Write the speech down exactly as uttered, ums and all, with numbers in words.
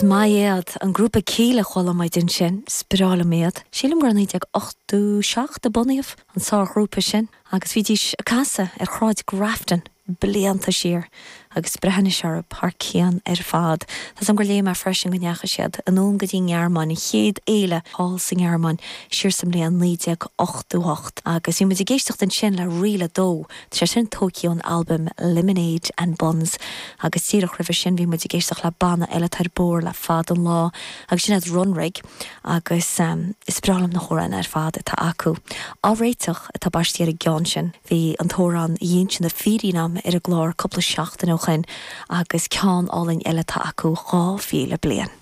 Is maith iad an grúpa Kíla a chuala muid ansin, is breá liom iad. Sílim gur naoi déag ochtó seacht a bunaíodh an sárghrúpa sin agus bhídís ag casadh ar Shráid Grafton blianta siar agus breathnaigh orthu thar cionn ar fad. Tá an gur léigh mé freisin go ndeachaigh siad anonn go dtí an Ghearmáin an chéad fhéile thall sa nGearmáin siar sa mbliain naoi déag ochtó hocht agus bhí muid ag éisteacht ansin le Ríl a Dó Tá sé sin tógtha ón albam Lemonade and Buns agus díreach roimhe sin bhí muid ag éisteacht le banna eile atá ar bóthar le fada an lá agus sin iad Runrig agus um, is breá liom na hamhráin ar fad atá acu. Á réiteach atá baiste ar an gceann sin, bhí an t-amhrán Inse na Fírinne agam ar an gclár cúpla seachtain ó shin agus ceann álainn eile atá acu dhá mhíle bliain.